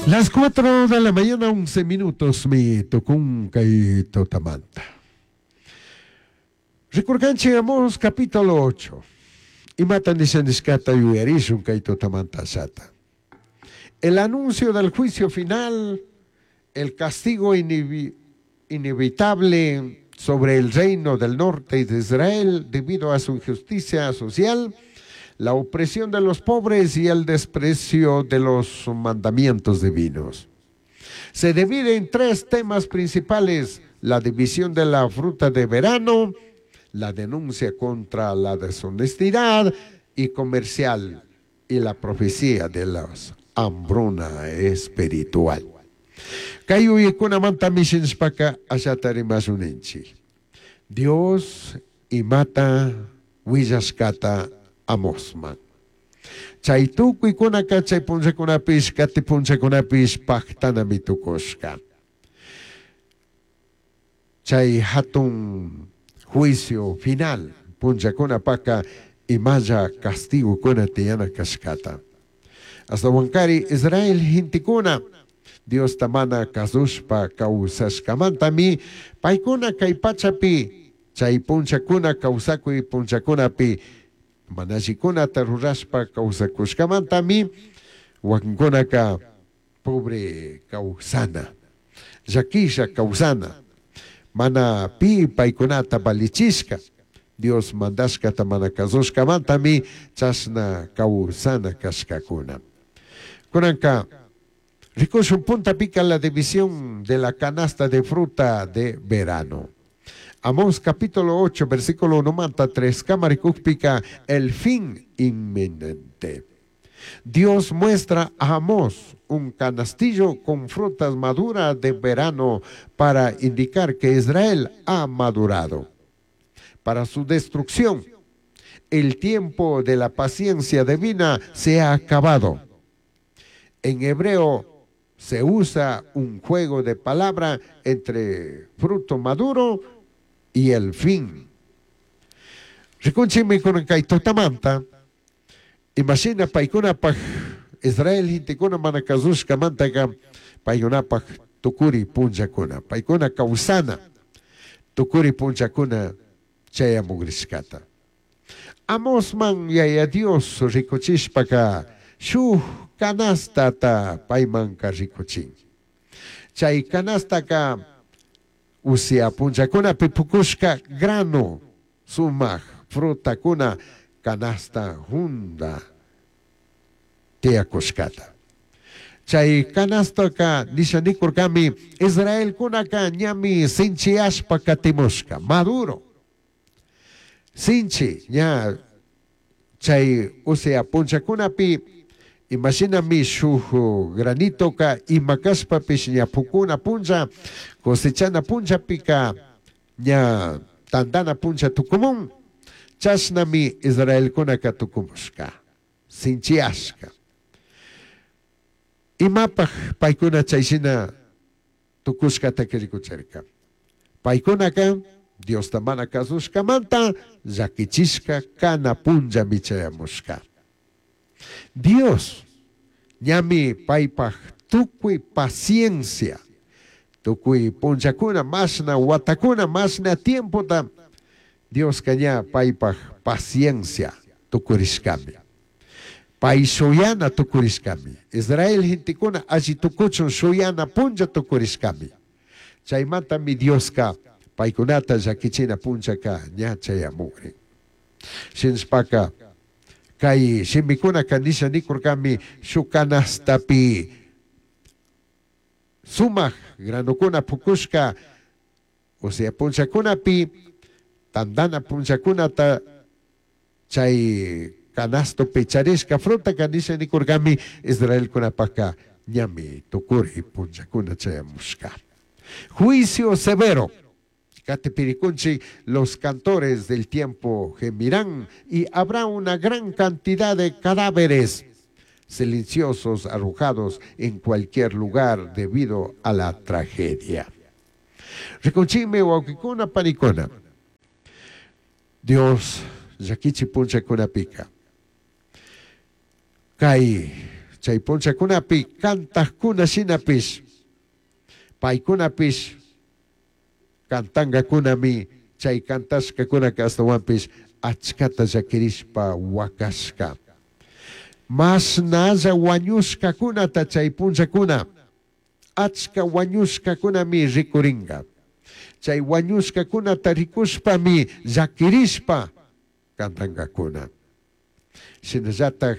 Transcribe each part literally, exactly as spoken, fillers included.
Las cuatro de la mañana, once minutos, mi tucun kay tutamanta. Rikurkanchik Amós capítulo ocho. Imata nisha nishkata yuyarishun kay tutamanta ashata. El anuncio del juicio final, el castigo inevi-, inevitable sobre el reino del norte de Israel debido a su injusticia social, la opresión de los pobres y el desprecio de los mandamientos divinos. Se divide en tres temas principales: la división de la fruta de verano, la denuncia contra la deshonestidad y comercial y la profecía de la hambruna espiritual. Kay uyaykunamanta mishinshpaka ashata rimashunninchik. Dios imata willashkata Amosman. Chay tukuykunaka chay punllakunapish kati punllakunapish pajtanami tukushka. Chay hatun juicio final punllakunapaka imalla castigokuna tiyana kashkata. Ashtawankari Israel gentekuna Diosta mana kasushpa kawsashkamantami paykuna kay pachapi chay punllakuna kawsakuy punllakunapi manallikunata rurashpa kawsakushkamantami wakinkunaka pobre kawsana, llakisha kawsana, mana pi paykunata valichishka, Dios mandashkata mana kasushkamantami chashna kawsana kashkakuna. Kunanka rikushun punta pica la división de la canasta de fruta de verano. Amós capítulo ocho, versículo uno manta tres, kamarikukpika, el fin inminente. Dios muestra a Amós un canastillo con frutas maduras de verano para indicar que Israel ha madurado para su destrucción. El tiempo de la paciencia divina se ha acabado. En hebreo se usa un juego de palabra entre fruto maduro y el fin. Rikunchimi kunan kay tutamanta, imagina paykunapaj Israel gentekuna mana kasushkamantaka paykunapaj tukuri punllakuna, paykuna kawsana tukuri punllakuna chayamugrishkata. Amosman yaya Dios rikuchishpaka shuj canastata paymanka rikuchin. Chay canastaka usia punllakunapi pukushka grano sumaj frutakuna canasta junda tiyakushkata. Chay canastaka nishanikurkami Israelkunaka ñami sinchiyashpa katimushka maduro. Sinchi ña chay usia punllakunapi imashinami shuj granitoka imakashpapish ña pukuna punlla cosechana punllapika ña tandana punlla tukumun chashnami Israelkunaka tukumushka sinchiyashka. Imapaj paykuna chayshina tukushkata rikuchirka. Paykunaka Diosta mana kasushkamanta llakichishka kana punllami chayamushka. Dios ñami paypaj tukuy paciencia, tukuy punllakuna, mashna watakuna, mashna tiempota, Dioska ña paypaj paciencia tukurishkami. Pay shuyana tukurishkami. Israel gentekuna alli tukuchun shuyana punlla tukurishkami. Chaymantami Dioska paykunata llakichina punllaka ña chayamukrin. Shinashpaka kay shimikunaka nisha nikurkami shuk canastapi sumaj granukuna pukushka, osea punllakunapi tandana punllakunata chay canastopi charishka frutaka nisha nikurkami Israelkunapaka ñami tukuri punllakuna chayamushka. Juicio severo. Catepiricunchi, los cantores del tiempo gemirán y habrá una gran cantidad de cadáveres silenciosos arrojados en cualquier lugar debido a la tragedia. Rikunchime wawqikuna panikuna. Dios llakichi punchakuna pika. Kay Chay punchakunapi kantakuna shinapish paykunapish kantankakunami chay kantashkakunaka ashtawanpish achkata llakirishpa wakashka. Mashnalla wañushkakunata chay punchakuna achka wañushkakunami rikurinka. Chay wañushkakunata rikushpami llakirishpa kantankakuna. Shinallatak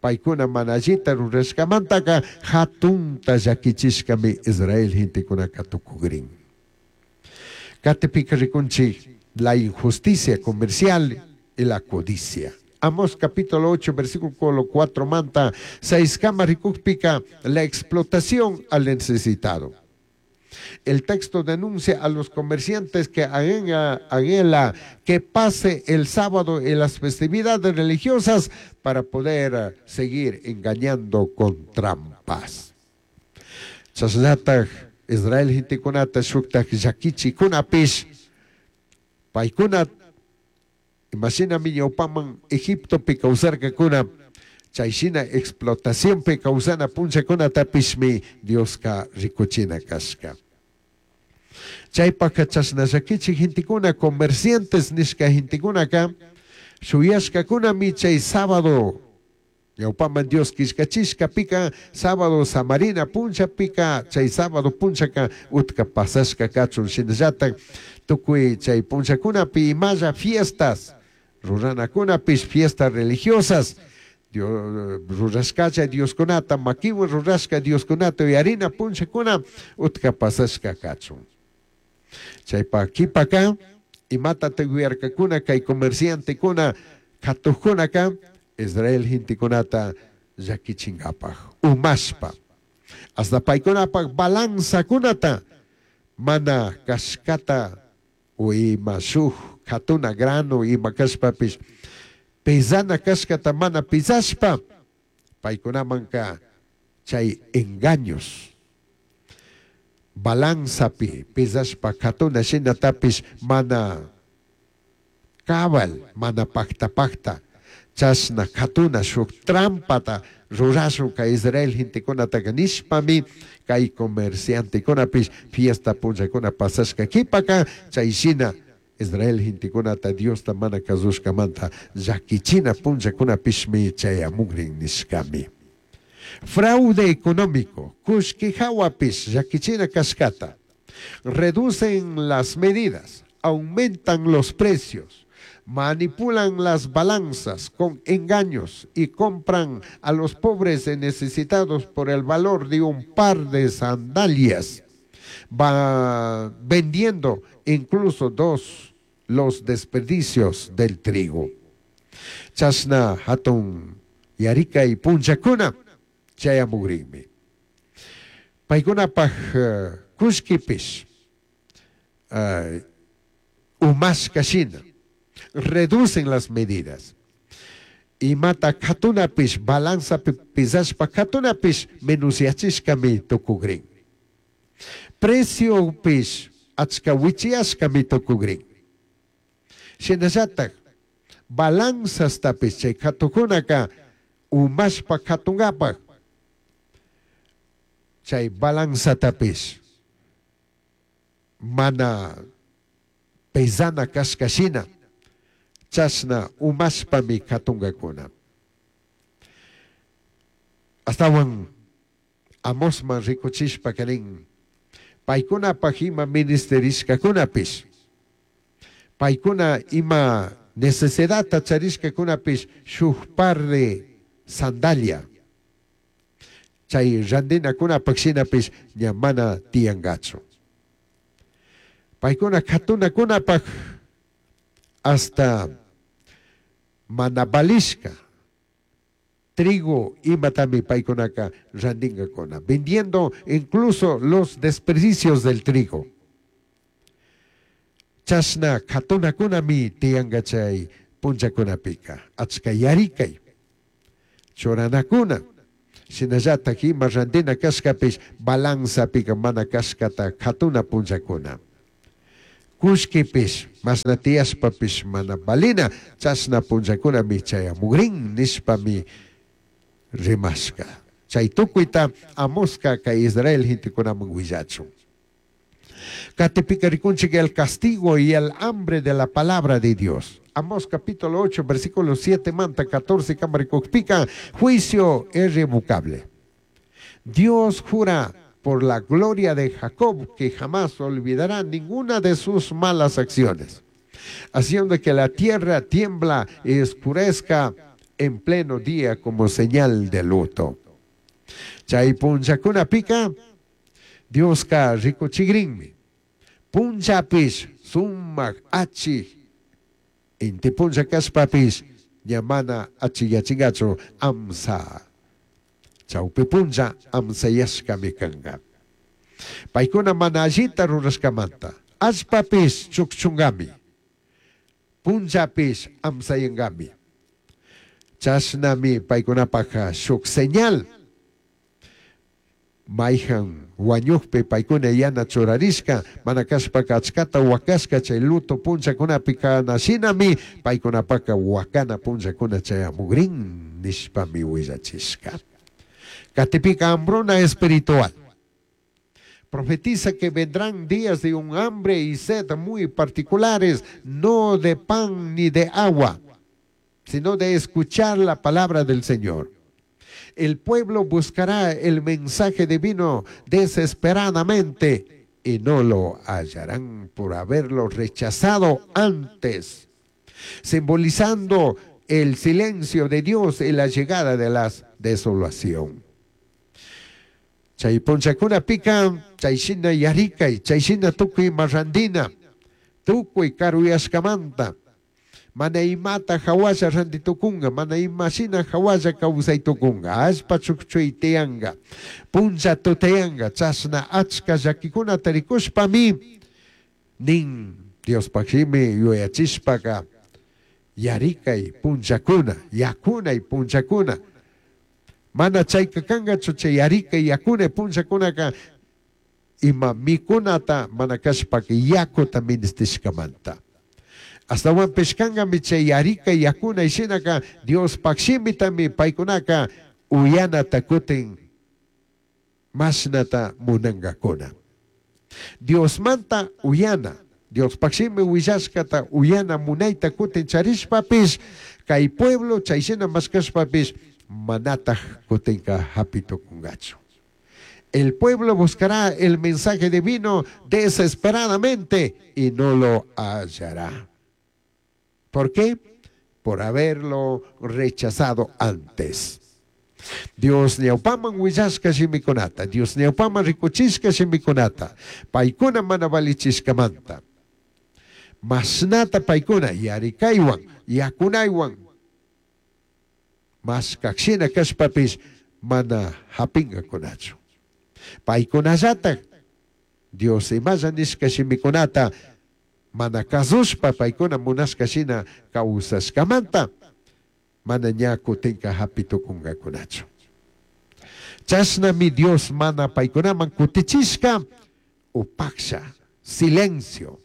paykuna mana allita rurashkamantaka hatunta llakichishkami Israel gentekunaka tukukrin. Katipika rikunchik la injusticia comercial y la codicia. Amós capítulo ocho, versículo cuatro manta, seis kama rikukpika, la explotación al necesitado. El texto denuncia a los comerciantes que anhela que pase el sábado en las festividades religiosas para poder seguir engañando con trampas. Chasnataj Israel gentekunata shuktaj llakichikunapish paykuna imashinami ñawpaman Egiptopi kawsarkakuna chayshina explotacionpi kawsana punchakunatapishmi Dioska rikuchina kashka. Chaypaka chashna llakichik gentekuna comerciantes nishka gentekunaka shuyashkakunami chay sábado ñawpaman Dios killkachishkapika sábado samarina punchapika chay sábado punchaka utka pasashka kachun shinallatak tukuy chay punchakunapi imalla fiestas ruranakunapish fiestas religiosas Dios, rurashkacha Dioskunata makiwan rurashka Dioskunata uyarina punchakuna utka pasashka kachun. Chaypa kipaka imata tuyarkakuna kay comerciantekuna katuqkunaka Israel gentekunata llakichinkapaj umashpa hasta paykunapaj balanzakunata mana kashkata o ima shuk katuna grano ima kashpapish pesana kashkata mana pesashpa paykunamanka chay engaños balanzapi pesashpa katuna shinatapish mana cabal mana pakta pakta chashna katuna shuk trampata rurashun kay Israel gentekunataka nishpami kay comerciantekunapish fiesta punchakuna pasashka kipaka chay shina Israel gentekunata Diosta mana kasushkamanta llakichina punchakunapishmi chayamukrin nishkami. Fraude económico, kullki hawapish llakichina kashkata. Reducen las medidas, aumentan los precios, manipulan las balanzas con engaños y compran a los pobres y necesitados por el valor de un par de sandalias, va vendiendo incluso dos los desperdicios del trigo. Chashna hatun yarikay punchakuna chayamugrinmi. Paykunapaj uh, kullkipish uh, umashka shina reducen las medidas. Imata katunapish balanzapi pisashpa katunapish menusyachishkami tukugrin. Preciopish achka wichiyashkami tukugrin. Shinallatak balanzastapish chay katukunaka umashpa katunkapak chay balanzatapish mana pesana kashka shina chashna umashpami katunkakuna. Astawan Amosman rikuchishpa kanin paykunapaj ima ministerishkakunapish paykuna ima necesidadta charishkakunapish shuk par de sandalia chay randinakunapaj shinapish ña mana tiyankachu. Paykuna katunakunapaj hasta mana valishka trigo imatami paykunaka randinkakuna, vendiendo incluso los desperdicios del trigo. Chashna katunakunami tiyanka chay punchakunapika achka yarikay churanakuna shinallatak ima randina kashkapish balanzapika mana kashkata katuna punchakuna. Kullkipish mashna tiyashpapish mana valina chashna punchakunami chayamugrin nishpami rimashka. Chay tukuyta Amosqa kay Israel gentekunaman willachun. Katipika rikunchik el castigo y el hambre de la palabra de Dios. Amós capítulo ocho, versículo siete manta catorce kamarikukpika, juicio irrevocable. Dios jura por la gloria de Jacob que jamás olvidará ninguna de sus malas acciones, haciendo que la tierra tiembla y oscurezca en pleno día como señal de luto. Chay punchakuna pika, Dioska rikuchigrinmi. Punchapis sumak achi, inti puncha kashpapis ña mana achiyachingachu amsa. Chawpi puncha amsayashkami kanka. Paykuna mana allita rurashkamanta, allpapis chukchungami, punchapis amsayangami. Chashnami paykunapaka shuk señal. Mayhan wañukpi paykuna yana churarishka, mana kashpaka achkata wakashka chay luto punchakunapi kanashinami paykunapaka wakana punchakuna chayamugrin nishpami willachishka. Katipika hambruna espiritual. Profetiza que vendrán días de un hambre y sed muy particulares, no de pan ni de agua, sino de escuchar la palabra del Señor. El pueblo buscará el mensaje divino desesperadamente y no lo hallarán por haberlo rechazado antes, simbolizando el silencio de Dios y la llegada de la desolación. Chay punchakuna pika, chay shina yarikay, chay shina tukuy marrandina, tukuy karuyashkamanta, mana imata hawalla rantitukunga, mana imashina hawalla kawsaytukunga, allpa chukchuy tiyanga, puncha tutayanga, chashna achka llakikunata rikushpami, nin Diospaj shimi yuyachishpaka, yarikay punchakuna, yakunay punchakuna, mana chayka kangachu chay yarikay yakunay punchakunaka, ima mikunata mana kashpaka yakuta ministishkamanta. Astawanpish kankami chay yarikay yakunay shinaka Diospaj shimitami paykunaka uyanata kutin mashnata munankakuna. Diosmanta uyana, Diospaj shimi willashkata uyana munayta kutin charishpapish, kay pueblo chay shina mashkashpapish manataj kutinka hapitukungachu. El pueblo buscará el mensaje divino desesperadamente y no lo hallará. ¿Por qué? Por haberlo rechazado antes. Dios ñawpaman willashka shimikunata, Dios ñawpaman rikuchishka shimikunata, paykuna mana valichishkamanta. Mashnata paykuna yarikaywan, yakunaywan, mashkakshina kashpapish mana hapingakunachu. Paykunallatak Dios imalla nishka shimikunata mana kasushpa paykuna munashka shina kawsashkamanta mana ña kutinka hapitukungakunachu. Chashnami Dios mana paykunaman kutichishka upaksha, silencio.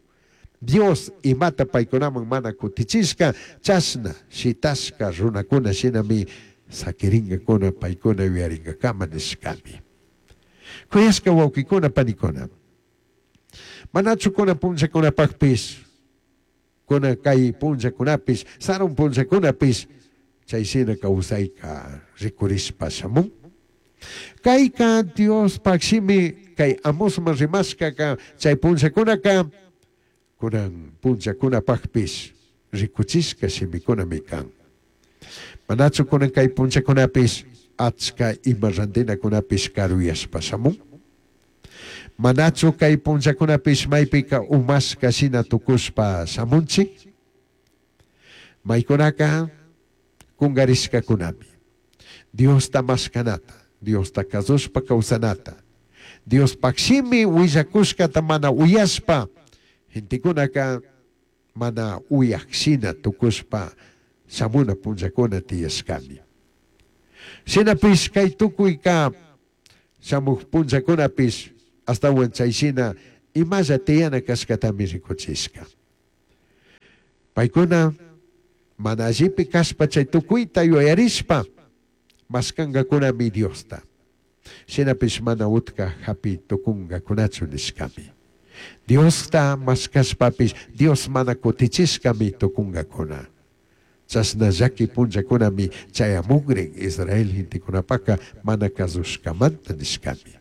Dios imata paykunaman mana kutichishka, chashna shitashka runakuna shinami sakiringakuna paykuna yuyaringakama nishkami. Kuyashka wawkikuna panikuna, manachu kuna punchakunapakpis, kuna kay punchakunapis, sarun punchakunapis, chay shina kawsayka rikurishpa shamun. Kayka Diospaj shimi kay Amosman rimashkaka chay punchakunaka, kunan punchakunapakpis rikuchishka shimikunami kan. Manachu kunan kay punchakunapis achka ima rantinakunapis karuyashpa shamun. Manachu kay punchakunapis maypika umashka shina tukushpa shamunchik. Maykunaka kungarishkakunami. Diosta mashkanata, Diosta kasushpa kawsanata, Diospaj shimi willakushkata mana uyashpa, gentekunaka mana uyaj shina tukushpa shamuna punchakuna tiyashkami. Shinapish kay tukuyka shamuj punchakunapish astawan chay shina imalla tiyana kashkatami rikuchishka. Paykuna mana allipi kashpa chay tukuyta yuyarishpa Mashkangakunami Diosta. Shinapish mana utka hapi tukungakunachu nishkami. Diosta mashkashpapish Dios mana kutichishkami tukungakuna. Chashna llaki punllakunami chayamugrin Israel gentekunapaka mana kazushkamanta nishkami.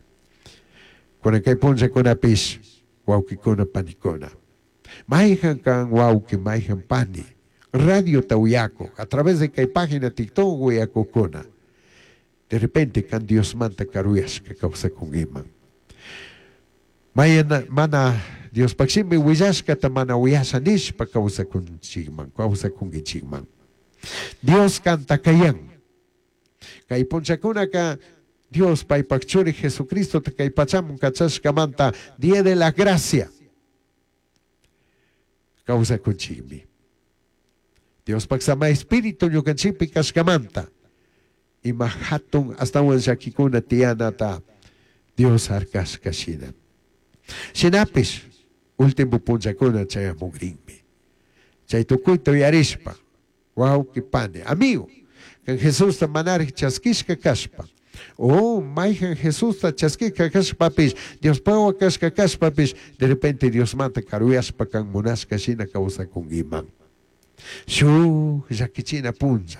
Kunan kay punllakunapish wawkikuna panikuna. Mayjan kan wawki, mayjan pani. Radiota uyakuj, a través de kay página TikTok uyakukuna. De repente kan Diosmanta karuyashka kawsakunkiman. Mayana, mana Diospaq shimi willashkata mana uyasha nishpa kawsakunchikman, kawsakunkichikman. Dios kanta kayan. Kay punchakunaka Dios paypak churi Jesucristo kay pachamun kachashkamanta Día de la Gracia kawsakunchikmi. Diospak sama espíritu ñukanchikpi kashkamanta ima hatun astawan llakikuna tiyanata Dios harkashka shina. Shinapish último punchakuna chayamugrinmi. Chay tukuyta uyarishpa wawqi pani amigo kan Jesusta manarik chaskishka kashpa o mayjan Jesusta chaskishka kashpapish Diospakwa kashka kashpapish de repente Diosmanta karuyashpa kan munashka shina kawsakunkiman. Shuk llakichina punlla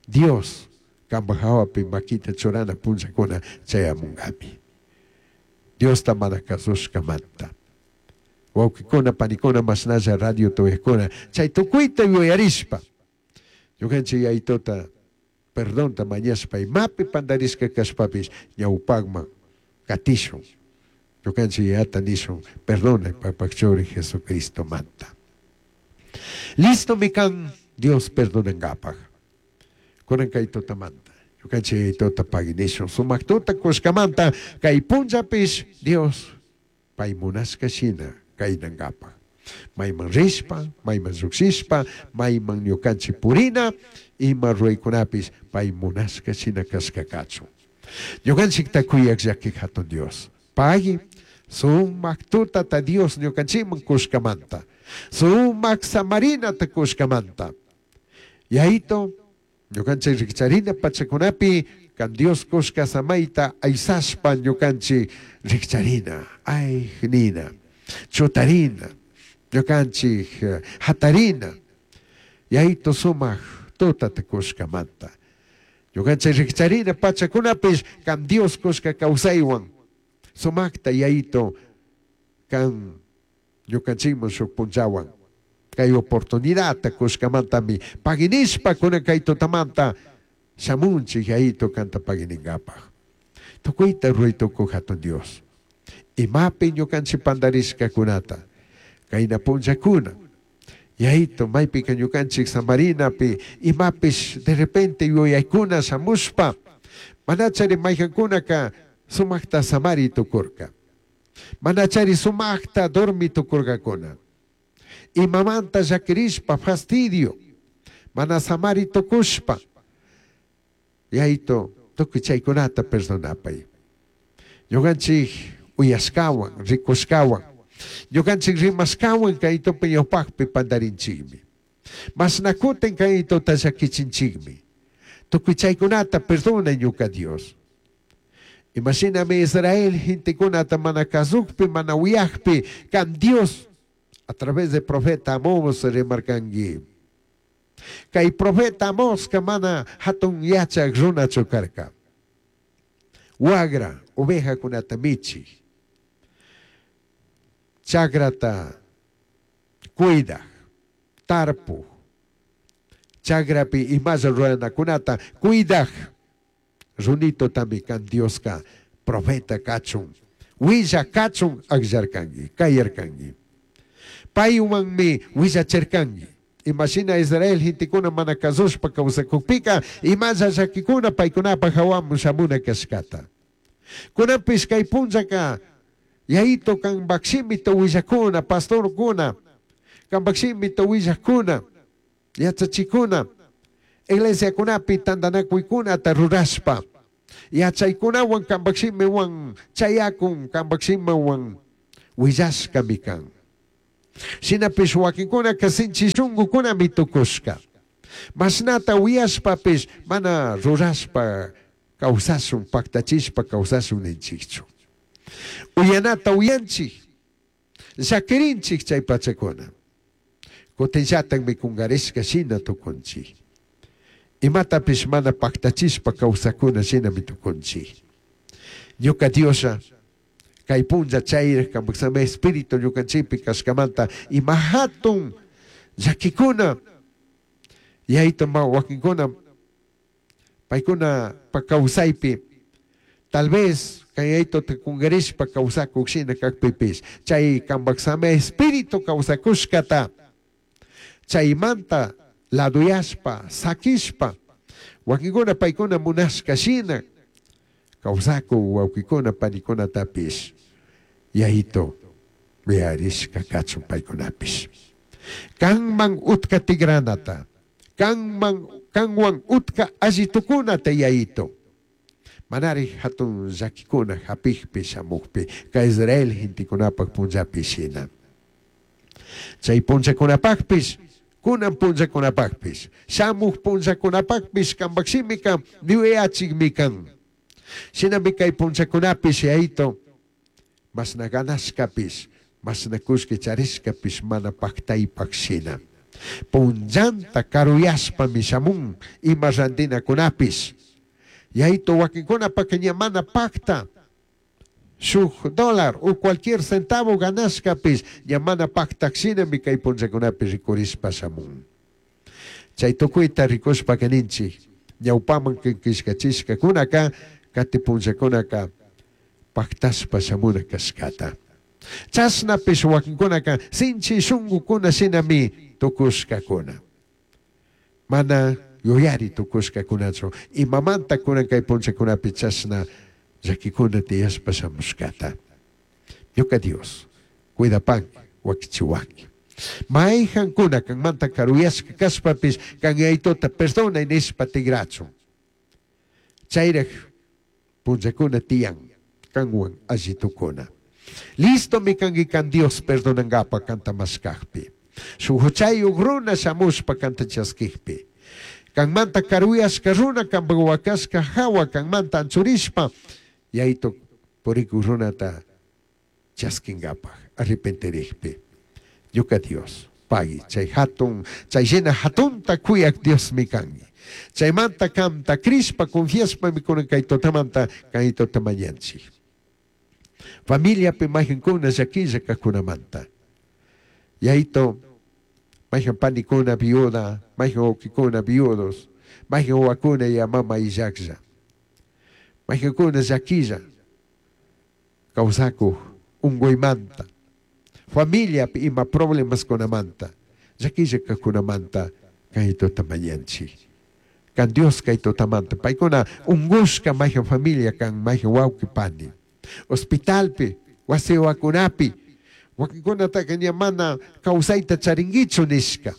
Dios kanpak hawapi makita churana punllakuna chayamunkami. Diosta mana kasushkamanta. Wawqikuna panikuna mashnalla radio tuyakuna chay tukuyta yuyarishpa ñukanchik yayituta perdonta mañashpa imapi pandarishka kashpapish ñawpakman katishun. Ñukanchik yayata nishun perdona paypak churi Jesucristomanta. Listo mi kan Dios perdonankapak. Kunan kay tutamanta. Ñukanchik yayituta pagui nishun sumak tuta kushkamanta kay punllapish Dios pay munashka shina kaynankapak. Mayman rishpa, mayman llukshishpa, mayman ñukanchik purina, ima ruraykunapish pay munashka shina kashka kachun. Ñukanchikta kuyak llaki hatun Dios. Pagui sumak tutata Dios ñukanchikman kushkamanta. Sumak samarinata kushkamanta. Yayito, ñukanchik rikcharina pachakunapi kan Dios kushka samayta aysashpa ñukanchik rikcharina, ay nina, chutarina, ñukanchik hatarina. Yayito sumak tutata kushkamanta. Ñukanchik rikcharina pachakunapish kan Dios kushka kawsaywan sumakta yayito kan ñukanchikman shuk punllawan kay oportunidadta kushkamantami paginishpa kunan kay tutamanta shamunchik yayito kanta pagininkapaj. Tukuyta ruray tukuy hatun Dios. Imapi ñukanchik pandarishkakunata kayna punllakuna yayito maypika ñukanchik samarinapi imapish de repente yuyaykuna shamushpa manachari mayjankunaka sumakta samari tukurka. Manachari sumakta dormi tukurkakuna. Imamanta llakirishpa fastidio mana samari tukushpa yayito tukuy chaykunata perdonapay. Ñukanchik uyashkawan rikushkawan ñukanchik rimashkawan kaytupi ñawpakpi pandarinchikmi. Mashnakutin kaytuta llakichinchikmi. Tukuy chaykunata perdonay ñuka Dios. Imashinami Israel gentekunata mana kasukpi mana uyakpi kan Dios a través de profeta Amós rimarkanki. Kay profeta Amós mana hatun yachak runachu karka. Wagra ovejakunata michik. Chakrata cuidaj, tarpuj. Chakrapi imalla ruranakunata cuidaj. Runito tami kan Dioska profeta kachun, willa kachun akllarkanki, kayarkanki. Paywanmi willachirkanki. Imashina Israel gentekuna mana kasushpa kawsakukpika imalla llakikuna paykunapaj hawaman shamuna kashkata. Kunanpish kay punllaka yayito kanpak shimita willakuna, pastorkuna, kanpak shimita willakuna, yachachikuna, iglesiakunapi tantanakuykunata rurashpa yachaykunawan kanpak shimiwan chayakun kanpak shimiwan willashkami kan. Shinapish wakinkunaka sinchi shunkukunami tukushka. Mashnata uyashpapish mana rurashpa kawsashun, paktachishpa kawsashun ninchikchu. Uyanata uyanchik, llakirinchik chay pachakuna. Kutinllatakmi kunkarishka shina tukunchik. Imatapish mana paktachishpa kawsakuna shinami tukunchik. Ñuka Dioslla kay punlla chayraj kampak espíritu ñukanchikpi kashkamanta ima hatun llakikuna yayta ma wakinkuna paykuna pa kawsaypi tal vez kay yaytuta kunkarishpa kawsakuk shina kakpipish chay kampak sami espíritu kawsakushkata chaymanta laduyashpa sakishpa wakinkuna paykuna munashka shina kawsakuk wawkikuna panikunatapish yayito yuyarishka kachun paykunapish kanman utka tigranata kanman kanwan utka allitukunata yayito manari hatun llakikuna hapikpi shamukpi kay Israel gentekunapak punllapi shina chay punllakunapakpish kunan punllakunapakpish shamuk punllakunapakpish kampak shimika yuyachikmi kan shinami kay punllakunapish yayito mashna ganashkapish mashna kullki charishkapish mana paktaypak shina punllanta karuyashpami shamun ima rantinakunapish yayito wakinkunapaka ña mana pakta shuk dólar o cualquier centavo ganashkapish ña mana paktak shinami kay punllakunapi rikurishpa shamun chay tukuyta rikushpaka ninchik ñawpaman killkachishkakunaka kati punllakunaka paktashpa shamuna kashkata chashnapish wakinkunaka sinchi shunkukuna shinami tukushkakuna mana yuyari tukushkakunachu imamanta kunan kay punllakunapi chashna llakikuna tiyashpa shamushkata ñuka Dios cuidapanki wakichiwanki mayjankuna kanmanta karuyashka kashpapish kan yaytuta perdonay nishpa tigrachun chayraj punllakuna tiyan kanwan allitukuna listomi kanki kan Dios perdonankapa kanta mashkakpi shuk huchayuk runa shamushpa kanta chaskikpi kanmanta karuyashka runa kanpak wakashka hawa kanmanta anchurishpa yaytu purikuk runata chaskinkapak arrepentirikpi ñuka Dios pagui chay hatun chay shina hatunta kuyak Diosmi kanki chaymanta kanta crishpa confiashpami kunan kay tutamanta kay tuta mañanchik familiapi mayjankuna llakilla kajkunamanta yayito mayjan panikuna viuda mayjan wawkikuna viudos mayjan wawakuna ya mama illaklla mayjankuna llakilla kawsakuk unkuymanta familiapi ima problemaskunamanta llakilla kajkunamanta kay tuta mañanchik kan Dios kay tutamanta paykuna unkushka mayjan familia kan mayjan wawki pani hospitalpi wasiwakunapi wakinkunataka ña mana kawsayta charinkichu nishka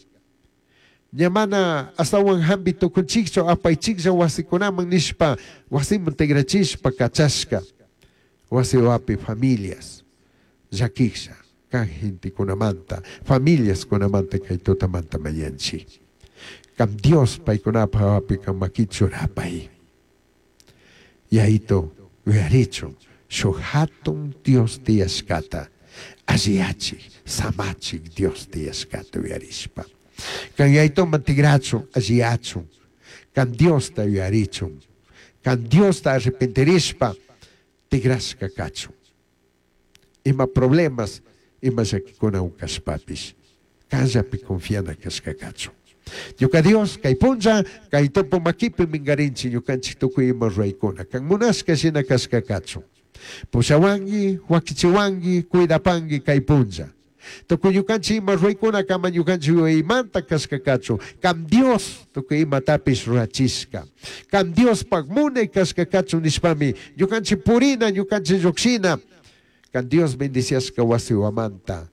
ña mana astawan hampi tukunchikchu apaychiklla wasikunaman nishpa wasiman tigrachishpa kachashka wasiwapi familias llakiklla kan gentekunamanta familiaskunamanta kay tutamanta mañanchik kan Dios paykunapaj hawapi kan makita churapay yayito yuyarichun shuk hatun Dios tiyashkata alliyachik samachik Dios tiyashkata yuyarishpa kan yaytuman tigrachun alliyachun kan Diosta yuyarichun kan Diosta arrepentirishpa tigrashka kachun ima problemas ima llakikuna kashpapish kanllapi confiana kashka kachun ñuka Dios kay punlla kay tupu makipi minkarinchik ñukanchik tukuy ima ruraykuna kan munashka shina kashka kachun pushawanki wakichiwanki cuidapanki kay punlla tukuy ñukanchik ima ruraykuna kama ñukanchik yuyaymanta kashka kachun kan Dios tukuy imatapish rurachishka kan Diospak munay kashka kachun nishpami ñukanchik purina ñukanchik llukshina kan Dios bendiciashka wasiwamanta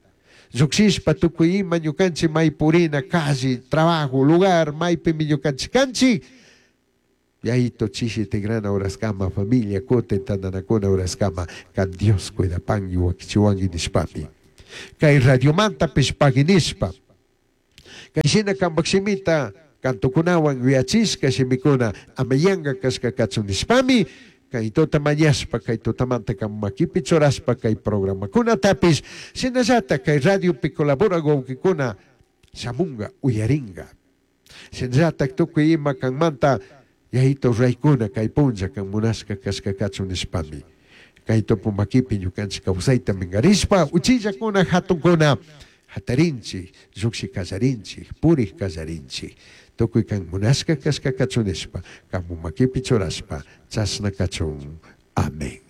llukshishpa tukuy ima ñukanchik may purina calle trabajo lugar maypimi ñukanchik kanchik yayito chishi tigrana horaskama familia kutin tantanakuna horaskama kan Dios cuidapanki wakichiwanki nishpami kay radiomanta pagui nishpa kay shina kampak shimita Cantokunawan yuyachishka shimikuna ama yanka kashka kachun nishpami kay tuta mañashpa kay tutamanta kan makipi churashpa kay programakunatapish shinallata kay radiopi colaborak wawkikuna shamunga uyaringa. Shinallata tukuy ima kanmanta yayito ruraykuna kay punlla kan munashka kashka kachun nishpami kay tupu makipi ñukanchik kawsayta minkarishpa uchillakuna hatunkuna hatarinchik llukshi kallarinchik purik kallarinchik tukuy kan munashka kashka kachun nishpa kamu makipi churashpa chashna kachun. Amén.